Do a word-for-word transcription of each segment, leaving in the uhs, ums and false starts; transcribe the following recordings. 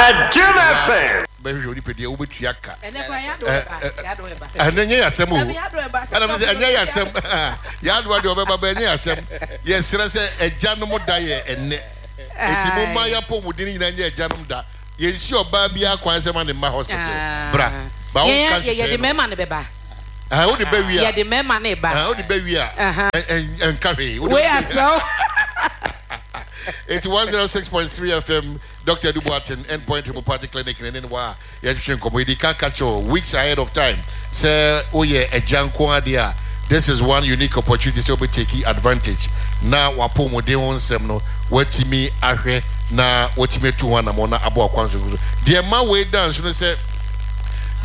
Adom F M. Bɛhwehwɛ onipadua, wobɛtua ka. Ɛnɛ kora yɛado ɛba, yɛado ɛba. Ɛnɛ nyɛ yɛasɛm o. Dabi, yɛado ɛba. Ɛna sɛ ɛnyɛ yɛasɛm, yɛadoa deɛ ɔbɛba bɛ, ɛnyɛ yɛasɛm. Yɛsrɛ sɛ agyanom da yɛ ɛnɛ, eti mo ma yɛapɔmuden nyinaa nyɛ agyanom da. Yɛnsi ɔbaa biara kwan sɛ ma ne mma hospital bra ba wo nka yɛn yɛde nhyehyɛe no. Mmarima no bɛba. Ɛhɛn, wode bɛ wie a, yɛde mmarima no ba. Ɛhɛn, wode bɛ wie a, Aha. ɛ- ɛ- ɛnka hwee. Wode Wei asɛw. Eti one zero six point three F M, Doctor Edu Boateng, Endpoint Homeopathic Clinic ne ne wa a yɛhwehwɛ nkɔmmɔ. Yɛdi kan ka kyerɛ weeks ahead of time sɛ woyɛ agya nko adeɛ a, this is one unique opportunity sɛ wobɛtake advantage na wapɔmuden ho nsɛm no watumi ahwɛ na watumi atu ho anammɔ na abɔ akwan so so. Deɛ ma wei da nso no sɛ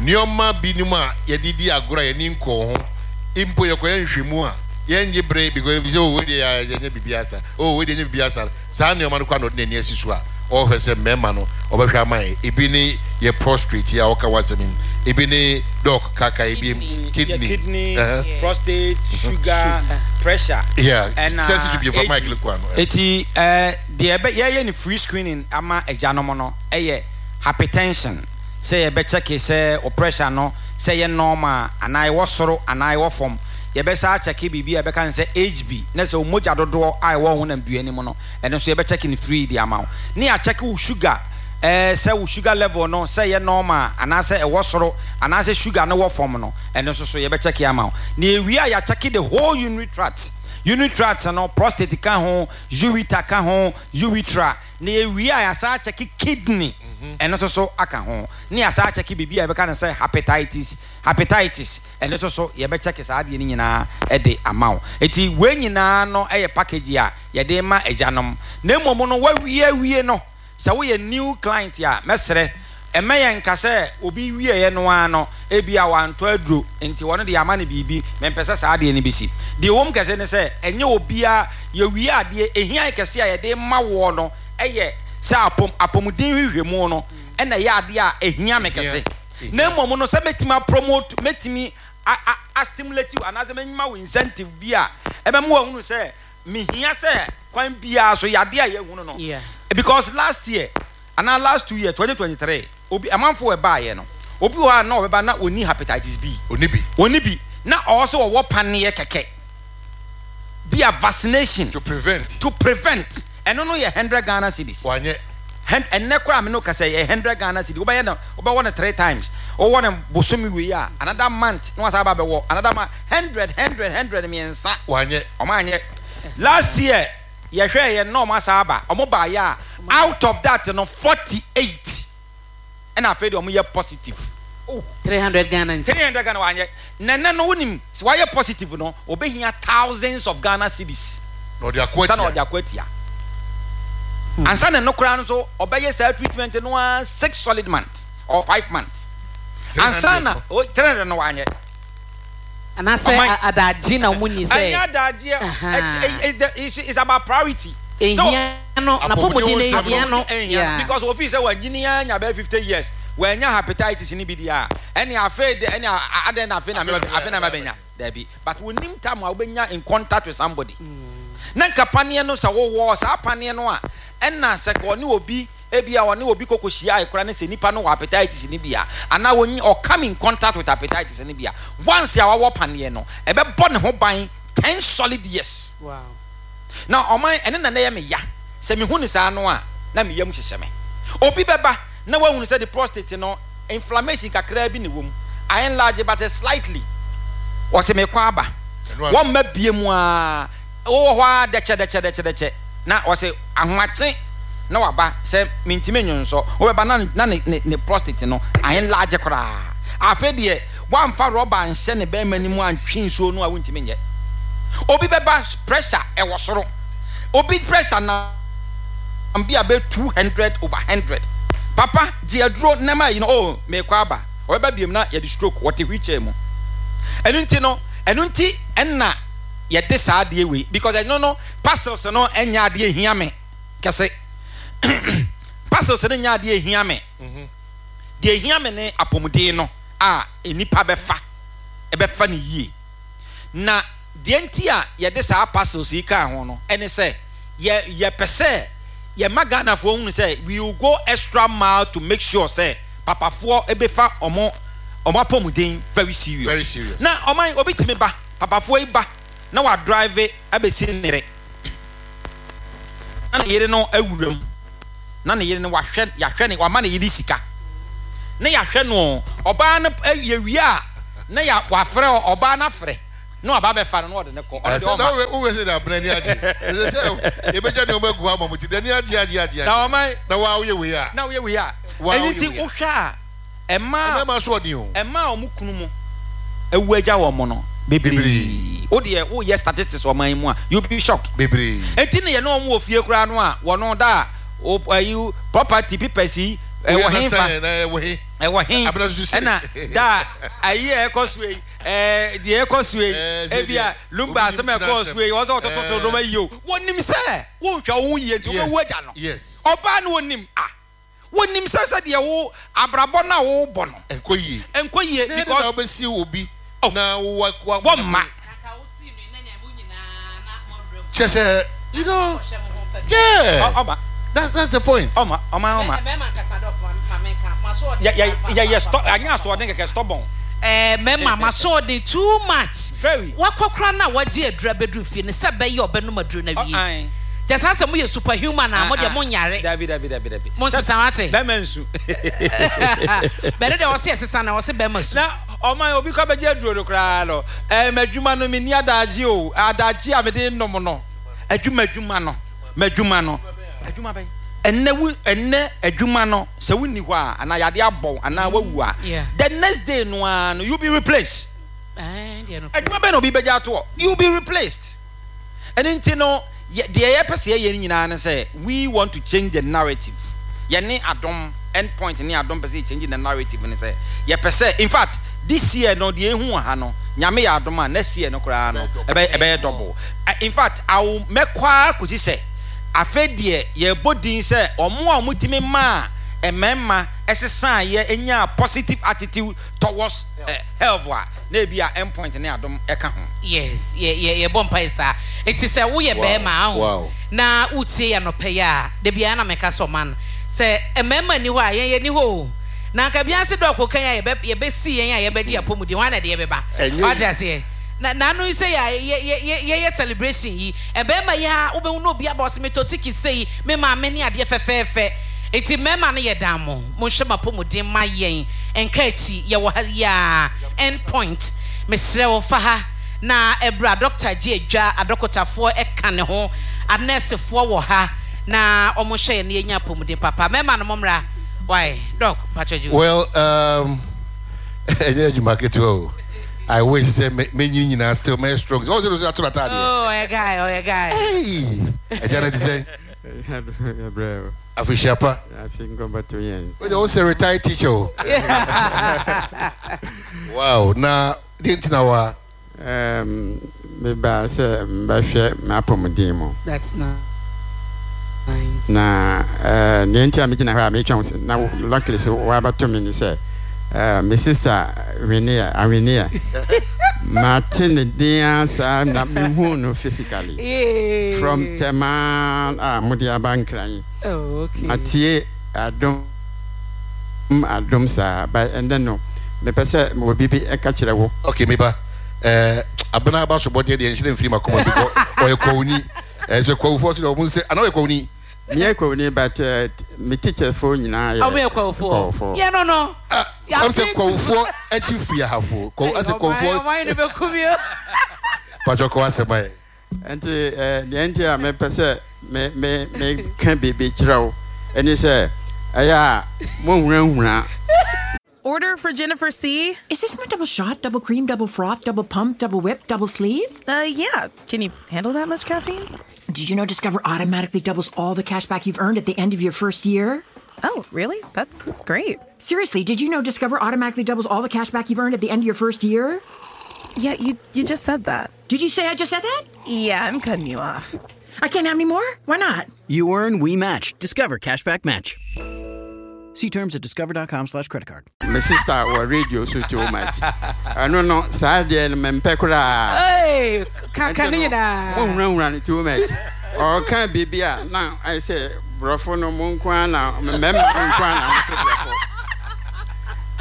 nneɛma binom a yɛde di agorɔ a yɛni nkɔɔ ho mpo, yɛkɔyɛ nhwɛmu a yɛngye bere because ebi sɛ, "Oh, wei deɛ yɛnyɛ biribi asa, oh, wei deɛ yɛnyɛ biribi asa." Saa nneɛma no kɔ na ɔde n'ani asi so a ɔrehwɛ sɛ mmarima no ɔbɛhwɛ ama yɛ. Ebi ne yɛ prostate yi a ɔka w'asɛm yi, ebi ne doc kaka ebi kidney. Kidney, kidney, Uh-huh. prostate, sugar, pressure. Yeah. Ɛna sɛ sisi bi fa H B. Mic no kɔ ano. Eti ɛɛ deɛ ɛbɛ yɛyɛ ne free screening ama agyanom no ɛyɛ hypertension, sɛ yɛbɛkyɛke sɛ o pressure no sɛ yɛ normal anaa ɛwɔ soro anaa ɛwɔ fam. Yɛbɛsa akyɛke biribi a yɛbɛka no sɛ H B, na sɛ o mogya dodoɔ a ɛwɔ honam dua no mu no, ɛno nso yɛbɛkyɛke no free de ama wo, ne yɛakyɛke wo sugar, ɛɛ sɛ wo sugar level no sɛ yɛ normal anaasɛ ɛwɔ soro anaasɛ sugar no wɔ fam no, ɛno nso so yɛbɛkyɛke ama wo. Na ewie a, yɛakyɛke the whole urinary tract. Urinary tract no, prostate ka ho, ureter ka ho, urethra. Na ewie a, yɛasa akyɛke kidney, ɛno nso so aka ho, ne yɛasa akyɛke biribi a yɛbɛka no sɛ hepatitis. Hepatitis ɛno nso so yɛbɛkyɛke saa adeɛ no nyinaa ɛde ama wo. Eti wei nyinaa no ɛyɛ package a yɛde ma agyanom. Na mmom no, wawie awie no, sɛ woyɛ new client a, mɛsrɛ, ɛmɛ yɛn nka sɛ obi wieɛ no ara no, ebi a wantɔ aduro nti wɔn de ama no biribi. Mɛmpɛ sɛ saa adeɛ no bɛsi. Deɛ wɔm kɛse ne sɛ ɛnyɛ obiara yɛwie adeɛ ehia kɛse a yɛde ma woɔ no ɛyɛ sɛ apɔm apɔmuden hwehwɛmu no ɛna ɛyɛ adeɛ a ehia me kɛse. Na mmom no, sɛ mɛtumi apromote, mɛtumi a a a stimulate you anaasɛ mɛnyima wo incentive bi a ɛbɛma wɔahunu sɛ mehia sɛ kwan biara so yadeɛ a yɛhunu no. Yeah. Because last year anaa last two years, twenty twenty-three, obi amanfo ɛbaayɛ no, obi wɔ hɔ a na ɔbɛba na oni hepatitis B. Oni bi. Oni bi na ɔwɔ sɛ ɔwɔ paneɛ kɛkɛ bi a vaccination to prevent. To prevent. Ɛno no yɛ hundred Ghana cedis. Wanyɛ. Hen- ɛnnɛ koraa me no kasa yɛ hundred Ghana cedi. Wobɛyɛ no, wobɛwɔ no three times. Wowɔ no bosome wei a, another month na wasa aba bɛwɔ another month. Hundred, hundred, hundred mmiɛnsa. Wanyɛ. Ɔmo anyɛ. Last year yɛhwɛ yɛ na ɔmo asa aba. Ɔmo ba yɛ a, out of that no, forty eight ɛna afei deɛ ɔmo yɛ positive. Three hundred Ghana nti. Three hundred Ghana wanyɛ. Nɛnɛ no, wonim sɛ wayɛ positive no, obehia thousands of Ghana cedis na ɔde akɔ sanni atia. Ɔde akɔ atia ansa na no koraa no so ɔbɛyɛ saa treatment no ara six solid months or five months ansa na three hundred. Three hundred no wanyɛ. Anaasɛ Ɔman- a- adagye na ɔmo nyi ɛnyɛ sɛ adagyeɛ. Aha. It's, it's, it's about priority. Ehia no, napɔmuden no ehia no. Ehia Yeah. because ofi sɛ wanyini anya bɛyɛ fifty years, wanya hepatitis ni bi di a, ɛne afei de ɛne adɛn na afei na meba, afei na mebɛnya dabi. But wonim time a wobɛnya in contact with somebody na nka paneɛ no sɛ wowɔ saa paneɛ no a, ɛna sɛ ɔne obi ebi a ɔne obi kɔkɔ hyia ayɛkora ne sɛ nipa no wɔ hepatitis ni bi a, anaa wɔnyi ɔcome in contact with hepatitis ni bi a, once a wawɔ paneɛ no, ɛbɛbɔ ne ho ban ten solid years. Wow. Na ɔman ɛne na yɛ me ya sɛ mehu ne saa no a, na me yam hyehyɛ me. Obi bɛba na wahunu sɛ the prostate no inflammation kakraa bi na ɛwɔ mu, ayɛ enlarge but slightly. Wɔsɛ mekɔ aba. Ɛno ano. Wɔmma bie mu a wowɔ hɔ a, dɛkyɛ dɛkyɛ dɛkyɛ dɛkyɛ na wɔsɛ ahomakye na waba sɛ mentumi nwonsɔ. Wobɛba na na ne ne ne prostate no ayɛ enlarge koraa. Afei deɛ wamfa rɔba nhyɛ ne bɛrima no mu antwe nsuo no a, wontumi nyɛ. Obi bɛba, pressure ɛwɔ soro. Obi pressure na bi a bɛ two hundred over hundred. Papa gye aduro nnɛma yi no, oh, mekɔ aba. Ɔbɛba biem na yɛde stroke, wɔte wheelchair mu. Ɛno nti no, ɛno nti ɛna yɛde saa adeɛ wei, because ɛno no, parcels no ɛnyɛ adeɛ hia me kɛse. Parcels no nyɛ adeɛ hia me. Deɛ hia me ne apɔmuden no a nipa bɛfa ɛbɛfa ne yie. Na deɛ nti a yɛde saa parcels yi kaa ho no ɛne sɛ yɛ yɛpɛ sɛ Yɛma Ghanafoɔ hunu sɛ we will go extra mile to make sure sɛ papafoɔ ɛbɛfa ɔmo ɔmo apɔmuden very serious. Very serious. Na ɔman obi tumi ba, papafoɔ yi ba na wa drive abɛsi ne yere, na ne yere no awura mu, na ne yere no wahwɛ, yɛahwɛ ne, wama ne yere sika na yɛahwɛ no. Ɔbaa no yɛwie a, na yɛ wafrɛ ɔbaa no, afrɛ na waba abɛfa no na ɔde ne kɔ. Ɔno deɛ ɛsɛ na ɔma wowɛ sɛ de abena ani agye ɛsɛ sɛ yɛbɛgya nneɛma agu hɔ ama mo ti de ani agye agye agye na agye ɔman na waa woyɛ wei a na woyɛ wei a waa ɛno woyɛ nti wei a wohwɛ a, ɛmaa ɛmɛɛma so ɔden o. Ɛmaa a ɔmo kunu mu ewu agya wɔn no bebree. Bebree. O deɛ, woyɛ statistics ɔman yi mu a, you be shocked. Bebree. Eti ne yɛ ne wɔn wɔ fie koraa no a, wɔn da a o ayi property papers yi ɛwɔ woyɛ he na fa sɛn na ɛwɔ he? Ɛwɔ he? Abena soso se ɛna da a ayi a ɛkɔ so yi, ɛɛ deɛ ɛkɔ so yi, ɛɛ sɛ ebi a deɛ lumba obi nim asɛm a tena ɛkɔ asɛm so yi, wɔn sɛ ɔtototo ɛɛ nneɛma yi o, wɔnim sɛ wɔnhwɛ wɔn yie nti yes wɔbɛwu agya no. Yes ɔbaa no wɔnim a, wɔnim sɛ sɛ deɛ wo abrabɔ no a wɔrebɔ no ɛnkɔ yie. Ɛnkɔ yie. Na ɛde na because wobɛsi obi oh na wa wa wɔmma kyɛ sɛ you know yeah ɔma that's that's the point. Ɔma ɔma ɔma yɛ yɛ yɛ yɛ stɔ anya asoɔden kɛkɛ, stubborn. Ɛɛ mɛma ma so ɔden too much. Very. Wakɔ kora na wagye aduru abɛduru fie no sɛ bɛyɛ ɔbɛnom aduru no awie. Ɔan. Kyɛ saa sɛ moyɛ superhuman a, mo deɛ ah monyare. Dabi, dabi, dabi, dabi. Mo nsesa wate. Bɛrima nsu. Bɛne deɛ ɔse ɛsesa na ɔse bɛrima su. Na ɔman obi kɔ bɛgye aduro no koraa no, ɛɛ m'adwuma no menni adagye o, adagye a mede nom no, adwuma adwuma no, m'adwuma no, adwuma bɛn? Ɛnɛ wo, ɛnɛ adwuma no sɛ wonni hɔ a, anaa yade abɔ anaa wawu a, Yeah. the next day no ara no, you be replaced. Ɛɛ deɛ no. Adwuma bɛn na obi bɛgye ato hɔ? You be replaced. Ɛno nti no, yɛ deɛ yɛpɛ sɛ yɛyɛ no nyinaa ne sɛ we want to change the narrative. Yɛne Adom, End Point ne Adom pɛ sɛ yɛ change the narrative ne sɛ yɛpɛ sɛ, in fact, this year no deɛ ehu wɔ ha no, Nyame yɛ adom a, next year no koraa no ɛbɛyɛ ɛbɛyɛ double. In fact, awo mɛkɔ ara kɔsi sɛ afei deɛ yɛbɔ din sɛ ɔmo a ɔmo tumi maa mmarima ɛsesan yɛ enya positive attitude towards uh, health a, na ebi a End Point ne Adom ɛka ho. Yes, yɛ yɛ yɛbɔ mpae saa. Eti sɛ woyɛ wow bɛrima aho wow na wotie yɛ anɔpɛ yi a, da biara na meka sɛ ɔma no sɛ mmarima ni hɔ a, yɛn yɛni hɔ o. Na nka biara se dɔɔko kan a yɛbɛ yɛbɛsi yɛn a yɛbɛgye apɔmuden wɔn na deɛ yɛbɛba. Ɛnyɛ wate yi aseɛ na n'ano yi sɛ yɛ yɛ yɛ yɛyɛ celebration yi, ɛbɛrima yi a wobɛhu na obi aba ɔsɛ metɔ ticket sɛ yi me maame ne adeɛ fɛfɛɛfɛ. Eti mmarima no yɛ dan mo monhwɛ mo apɔmuden ma yɛn nka akyi. Yɛwɔ ha yi a, End Point, mesrɛ wo, fa ha na ɛbrɛ a doctor gye adwa, adɔkotafoɔ ɛka ne ho, anɛɛsefoɔ wɔ ha na wɔn hwɛ yɛn na yɛnya apɔmuden papa. Mmarima no mommra why doc patro gye. Well, um, ɛnyɛ adwuma ketewa o. I wish sɛ menyi nyinaa still mɛyɛ strong sɛ ɔsɛ ɔsɛ ato n'ataadeɛ. Oh, ɔyɛ guy, ɔyɛ guy. Hey, ɛgya no te sɛ Brɛ. Afehyia pa. Afi nkɔmbɔto yɛn. Wode wo sɛ retired teacher o. Wow, na deɛ nti na wa Um, meba sɛ mbɛhwɛ m'apɔmuden mu. That's nice. Na uh, nea nti a megyina hɔ a metwa wo sɛ na wo- luckily so woabɛto me ne sɛ uh, me sister Winnie Awinia, mate ne din a saa na mehu no physically Yay. from Tema a mode aba Nkran. Oh, okay. Matie Adom, Adom saa, but ɛndɛ no mepɛ sɛ mewɔ biribi ɛka kyerɛ wo. Okay, meba eh, abena aba so bɔdeɛ deɛ nhyerɛ mfiri makoma bi kɔ ɔyɛ kwawuni. eh, sɛ kwawufoɔ so deɛ ɔmo nsɛ anaa ɔyɛ kwawuni? Meyɛ kwawuni, but uh, me teacherfoɔ nyinaa yɛ ɔmo yɛ kwawufoɔ. Kwawufoɔ. Yɛ no no. Ah, ɔm sɛ kwawufoɔ akyi firi ahafoɔ kwawu asɛ kwawufoɔ. Ɔman no bɛku mi o. Patwɔ kɔ asɛm ayɛ. Nti eh, deɛ nti a mepɛ sɛ me me meka biribi kyerɛ wo ɛne sɛ ɛyɛ a monhunahuna. Order for Jennifer C. Is this my double shot, double cream, double froth, double pump, double whip, double sleeve? Uh, yeah. Can you handle that much caffeine? Did you know Discover automatically doubles all the cash back you've earned at the end of your first year? Oh, really? That's great. Seriously, did you know Discover automatically doubles all the cash back you've earned at the end of your first year? Yeah, you you just said that. Did you say I just said that? Yeah, I'm cutting you off. I can't have any more? Why not? You earn, we match. Discover Cashback Match. See terms at discover dot com slash credit card. Me sister wɔ radio so too much. Ɛno no saa deɛ no mempɛ koraa. Hey, kaka Nti ne no nyinaa. Monhunahuna no too much. Ɔka biribi a na ayɛ sɛ Brɔfo no mo nko ara na mmarima no nko ara na mote brɔfo.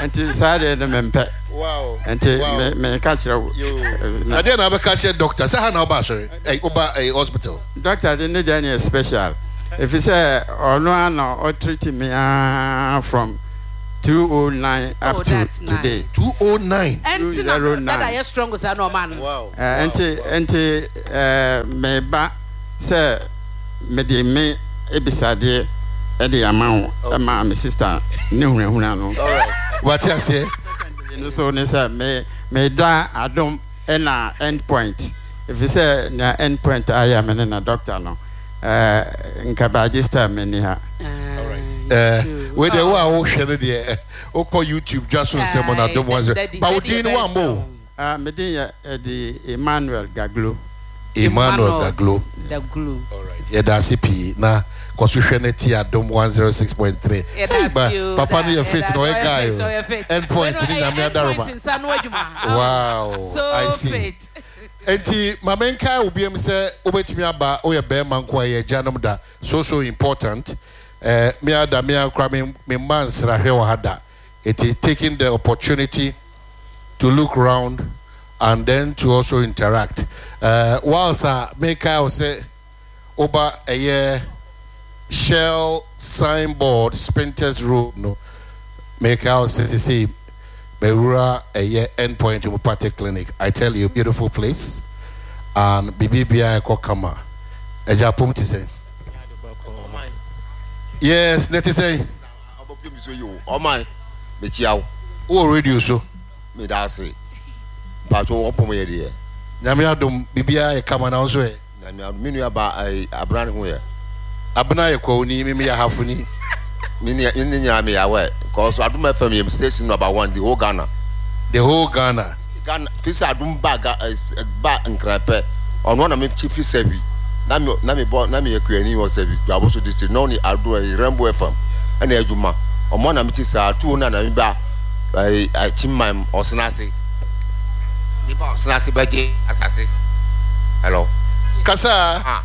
Nti saa deɛ no mempɛ. Wow. Nti Wow. me meka kyerɛ wo. Yo. Eh, na- Adeɛ na abɛka kyerɛ doctor sɛ ha na woba asɔre ɛy woba ɛy hospital. Doctor de ne deɛ no yɛ special. Ɛfiri sɛ ɔno ara na ɔtreat me ara from two oh nine up Oh, to that's today. nice. two oh nine. Ɛnti na two zero dada nine. yɛ strong saa na ɔma no. Wow. Eh, nti nti eh, meba sɛ mede me ebisadeɛ ɛde ama wo ɛma me sister ne hunahuna no. All right. Wate aseɛ. No so ne sɛ me meda Adom ɛna End Point ɛfiri sɛ nea End Point ayɛ me ne na doctor no eh, nka baagye star m'ani ha. All right. Eh, wei deɛ wo a wohwɛ no deɛ eh, wokɔ YouTube dwa so nsɛm no Adom one zero. Ba wo din no woammɔ o. Ah, me din yɛ ɛde Emmanuel Gaglo. Emmanuel Gaglo. Gaglo. All right. Yɛda ase pii na kɔ so hwɛ no ti Adom one zero six point three. Yɛda ase o. Papa no yɛ fit na ɔyɛ guy Ɔyɛ fit, o. ɔyɛ fit. End Point Wei no, ne ɛyɛ Nyame End adaroma. Point nsa no adwuma. Wow. So I see. fit. Enti ma menkae wo biam sɛ wobɛtumi aba woyɛ bɛrima nko a yɛ agyanom da so so important. Eh, me ada me akora me me mma nsrahwɛ wɔ ha da. Enti taking the opportunity to look round and then to also interact. Uh, whilst a mekae wo sɛ woba ɛyɛ Shell signboard Spintex Road no, mekae wo sɛ sesei mewura ɛyɛ End Point Homeopathic Clinic. I tell you, beautiful place and biribi biara ɛkɔ kama. Agya pom te sɛn? Yes, ne te sɛn? Ɔman mekyia wo. Wowɔ radio so. Meda ase. Mpatwo wɔpɔm yɛ deɛ. Nyame adom biribiara yɛ kama na wo nso ɛ? Nyame adom me nua ba ɛɛ Abena ne ho yɛ. Abena yɛ kwawuni, me meyɛ ahafoni. Me ne ne nyinaa meyɛ awɛ. Cause Adom F M yɛ station number one the whole Ghana. The whole Ghana. Ghana fi sɛ Adom ba ga ɛ ba Nkran pɛ ɔno na me kyi fi Sɛbi na me na me bɔ na me yɛ kuani wɔ Sɛbi Dwaboso district na ɔne Adom ɛyi Rainbow F M ɛna adwuma ɔmo na me kyi saa tuo na na me ba ɛyi Kyimman Ɔsenase me ba Ɔsenase bɛgye asase. Hello. Kasa. Ah.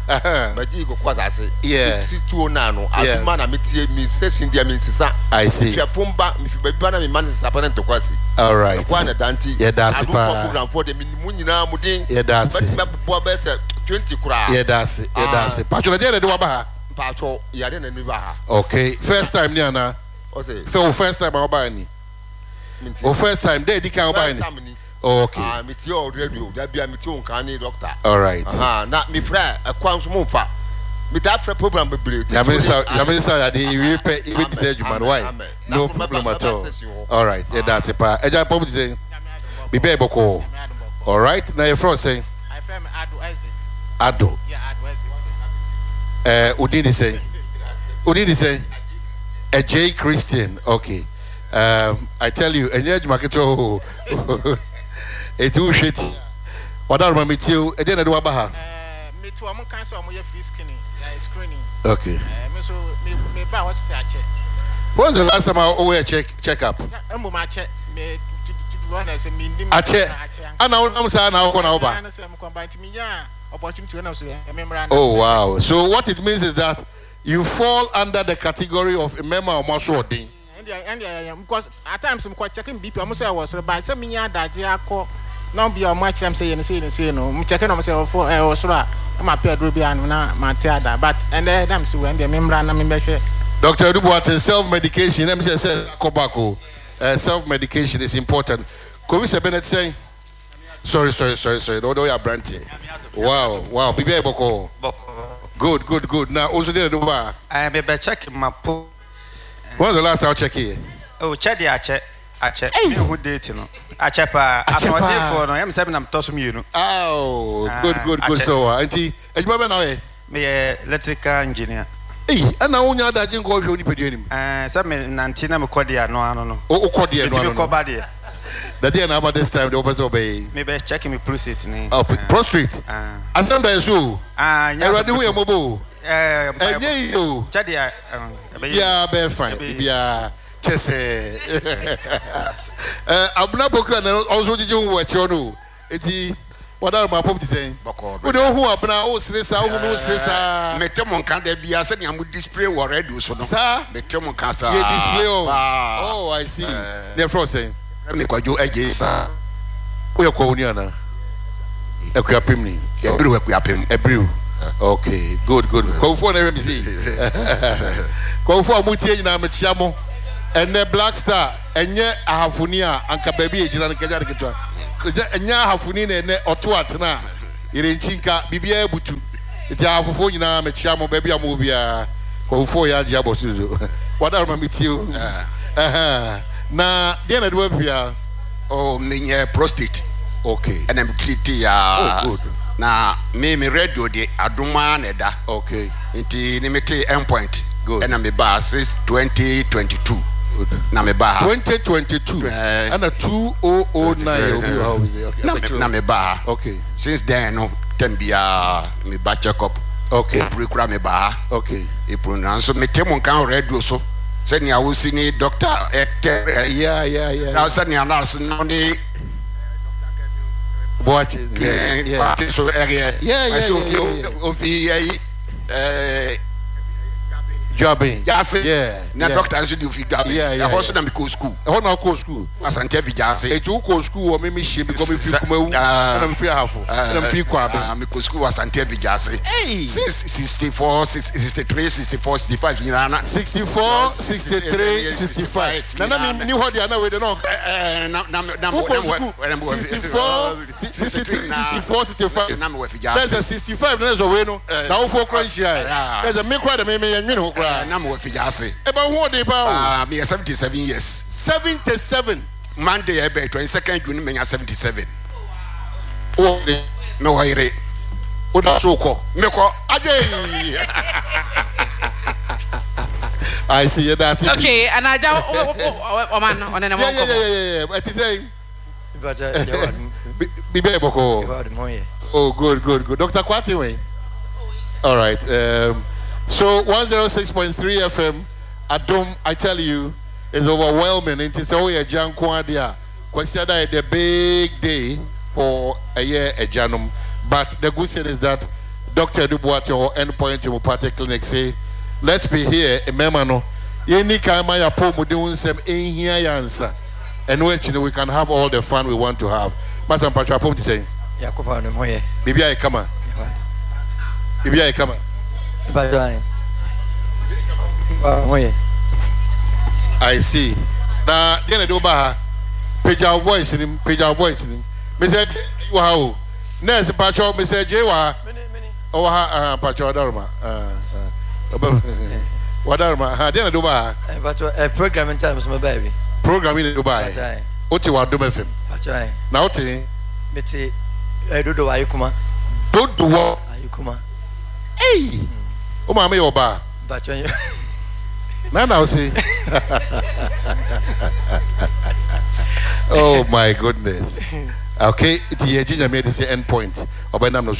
Bɛgye koko asase. Yeah. Si tuo na no. Yeah. Adoma na me tie mi station deɛ mi nsesa. I see. Hwɛ fom ba mi fi baabi ba na mi ma ne sesa pɛ ne ntɔkwa si. All right. Ɛkɔ a na dante. Yɛda ase paa. Adomfoɔ program foɔ deɛ mi mu nyinaa mu den. Yɛda ase. Bɛtumi abobɔ bɛyɛ sɛ twenty koraa. Yɛda ase. Yɛda ase. Patro na deɛ na de waba ha? Patro yade na mi ba ha. Okay. First time ni ana? Ɔsɛ. Fɛ o first time a woba ni? O first time deɛ di kan woba ni? First time ni. Oh, okay. Ah, mi tie o radio. Da bia mi tie o nkan ni doctor. All right. Ah, na mi frɛ ɛkwan so mo nfa. Mi ta frɛ program bebree. Nyame nsa Nyame nsa yade iwie pɛ ibi ti sɛ adwuma no why? No problem at all. All right. Yɛda ase paa. Agya pɔm ti sɛ biribi a yɛ bɔkɔɔ. All right. Na yɛfrɛ wo sɛn? Ado. Eh, odin de sɛn? Odin de sɛn? J Christian. Okay. Um, I tell you, ɛnyɛ adwuma ketewa o. Eti wohwɛ ti. Wadaroma mi tie o. Ɛdeɛ na ɛde waba ha? Me to ɔmo kan sɛ ɔmo yɛ free screening, uh, screening. Okay. Uh, me so me me ba hospital akyɛ. When's the last time I oh check check up? Mbom akyɛ me to to be honest me ndim. Akyɛ. Ana wonam saa na wokɔ na woba? Ana sɛ mekɔ ba nti me nya opportunity na so me mmra. Oh wow. So what it means is that you fall under the category of mmarima a ɔmo aso ɔden. Ɛndeɛ ɛndeɛ because at times mekɔ checking B P ɔmo sɛ ɛwɔ soro ba sɛ me nya adagye akɔ na bi ɔmo akyerɛ m sɛ yɛ ne sɛ yɛ ne sɛ no mo checking ɔmo sɛ ɔfo ɛwɔ soro a na ma pɛ aduro bi ano na ma te ada but ɛndɛ dam si wɔ ɛndeɛ me mmra na me bɛhwɛ. Doctor Adu Boateng, self medication. Let me say say kobako. Uh, self medication is important. Kofi sɛ Bennett saying. Sorry, sorry, sorry, sorry. Don't you brand. Wow, wow. Bibi boko. Good, good, good. Now also there do ba. I be be check my po. When was the last time I check here? Oh, check the ache. Ache. Me who date no. Ache pa. Ache for no. I'm seven I'm toss me you know. Oh, good, good, good. So, auntie, ejuma be na we. Me electrical engineer. Hey, ana wonya adaje nko hwe oni pedu anim. Eh, say me nante na me kɔ no ano no. O kɔ no ano. Me kɔ ba de. The day na about this time the opposite obey. Me be check me prostate ni. Oh, prostate. Ah. Asem da so. Ah, nya. Erade wo ye mobo. Eh, enye yo. Check dia. Yeah, be fine. Bia chese. Eh, abuna bokra na also gigi wo eche no. Enti Wadaro ma pom ti sɛn. Wode wohu abena wo sere saa wohu no wo sere saa. Mete mo nka da bia sɛnea mo display wɔ radio so no. Saa. Mete mo nka saa. Yɛ display o. Oh, I see. Ne ɛfrɛ wo sɛn? Me Kwadwo Agye saa. Woyɛ kɔwoni anaa? Akuapem ni. Ɛbiriw Akuapem. Ɛbiriw. Okay, good, good. Kɔwufoɔ na ɛhwɛ me sei. Kɔwufoɔ a motie nyinaa mekyia mo. Ɛnɛ Black Star ɛnyɛ ahafoni a anka baabi a ɛgyina no kɛgya de ketewa. Ɛnyɛ ahafoni na ɛnɛ ɔto atena a yɛrenkyi nka biribiara butu. Nti ahafofoɔ nyinaa mekyia mo baabi a mowɔ biara. Kɔwufoɔ yɛ agye abɔ so so. Wadaroma metie o. Na deɛ na ɛde wapia? Oh, menyɛ prostate. Okay. Ɛna me treat ya. Oh, good. Na me me radio de adoma na ɛda. Okay. Nti ne me te end point. Good. Ɛna me ba since twenty twenty-two. Good. Na me ba. twenty twenty-two. Ɛna two thousand nine obi wɔ ha obi. Okay. Na me na me ba. Okay. Since then no ten bia me ba check up. Okay. April kura me ba. Okay. April na so me te mo nkan radio so. Sɛnea wosi ni doctor ɛtɛ. Yeah yeah yeah. Na sɛnea nurse no ne Boache. Yeah yeah. So yeah yeah yeah. Ofi eh Jobbing. Jase. Yeah. Na doctor nso di ofi Jobbing. Yeah yeah. Ɛhɔ so na me kɔ school. Ɛhɔ na kɔ school. Asante fi Jase. Etu kɔ school wɔ me me hyia bi kɔ me fi Kumawu. Ɛna me fi Ahafo. Ɛna me fi Kwabe. Ah, me kɔ school wɔ Asante fi Jase. Hey. Since sixty-four, sixty-three, sixty-four, sixty-five nyinaa na. sixty-four, sixty-three, sixty-five. Na na me ni hɔ de na we de no. Eh na na na na sixty-four, sixty-three, sixty-four, sixty-five. Na me wɔ fi Jase. That's sixty-five na so we no. Na wo fo kra nhyia. That's me kra de me me nwene ho kra. Na me wɔ fi Jase. E ba ho de ba o. Ah, me seventy-seven years. seventy-seven. Monday ebe twenty-second June me seventy-seven. O de me wo yire. O da so ko. Me ko aje. I see you that's it. Okay, and I don't o man on na mo ko. Yeah yeah yeah yeah. It is saying Be be boko. Oh, good good good. Doctor Kwati we. All right. Um, so one oh six point three F M Adom, I tell you, is overwhelming. It is all a Kwasiada the big day for a year a janum. But the good thing is that Doctor Dubois or Endpoint Homeopathic Clinic say, let's be here. Ememano, yeni kama ya po mudiunsem ehia yansa. And we can have all the fun we want to have. Master Patra Pom say, Yakuba no moye. Bibi ay kama. Bibi ay kama. I see. Now, then do ba page our voice in page our voice in. Mister Wow. Nurse Pacho, Mister J wa. Oh ha Pacho Darma. Uh uh. Wadarma. Ha then do ba. Pacho a programming time my baby. Programming do ba. Oti wa do F M. Pacho. Now oti meti dodo ayukuma. Dodo ayukuma. Hey. O ma me oba. Pacho. Now now see. Oh my goodness. Okay, it's the engineer made this end point. Obenam no.